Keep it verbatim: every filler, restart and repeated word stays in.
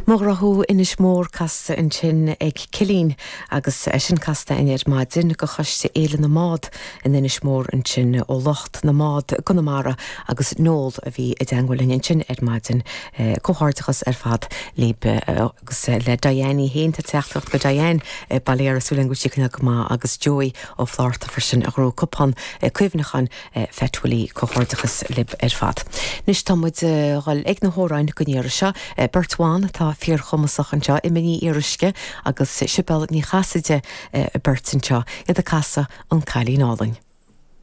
Mo ghrá thú Inis Mór casta ansin ag Cilín agus é sin casta ar maidin go choiste Fhéile na mBád in Inis Mór ansin ó lucht na mbád i gConamara agus Noel a bhí i dteagmháil linn ansin ar maidin comhghairdeachas ar fad libh agus le Diane féin tá teachtaireacht go Diane Baile Súlen go sí go maith agus Joey ó Flárta freisin a ghnóthaigh cupán cuimhneacháin Phet Willie comhghairdeachas libh ar fad. Anois tá muid dhul ag na hamhráin go ndéara seo beirt bhan atá fíorchumasach anseo Emma Ní Fhíoruisce agus Sibéal Ní Chasaide beirt anseo iad ag casadh an Cailín Álainn.